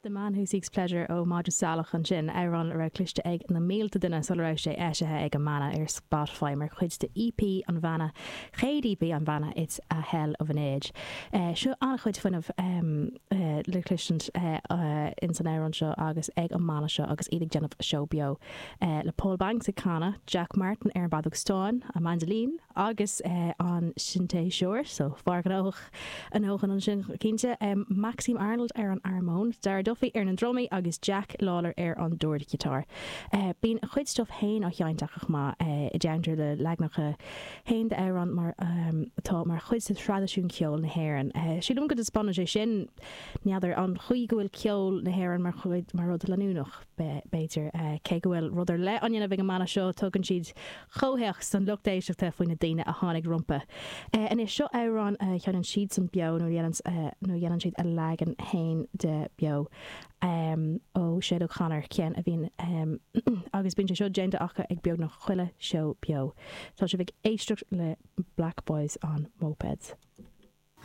The Man Who Seeks Pleasure ó Madra Salach ansin, amhrán a raibh cloiste ag na mílte duine sula raibh sé eisithe ag an mbanna ar Spotify mar chuid de EP an bhanna, chéad EP an bhanna, It's a Hell of an Age. Seo an-chuid fuinnimh le cloistint ins an amhrán seo agus ag an mbanna seo agus iad ag déanamh seó beo le Paul Banks ag canadh, Jack Martin ar an bhfeadóg stáin, an maindilín agus an sintéiseoir, so fear gnóthach a ndóthain ansin cinnte, Maxime Arnold ar an armóin, Dara Duffy ar na drumaí agus Jack Lawlor ar an dordghiotár. Bíonn a chuid stuif féin á sheinnt acu chomh maith, i dteannta le leaganacha féin d'amhráin mar atá mar chuid de thraidisiún ceoil na hÉireann. Sílim go dtaispeánann sé sin, n'fheadar, an chaoi go bhfuil ceol na hÉireann mar chuid, mar rud leanúnach, b'fhéidir. Cé go bhfuil rud ar leith á ndéanamh ag an mbanna seo, tugann siad comhthéacs don lucht éisteachta faoi na daoine a tháinig rompu. Anois, seo amhrán a sheinneann siadsan beo nó a dhéanann siad a leagan fhéin de beo ó Sinéad O'Connor, ceann a bhíonn agus bíonn sé seo déanta acu ag beagnach chuile seó beo. Tá sibh ag éisteacht le Black Boys on Mopeds.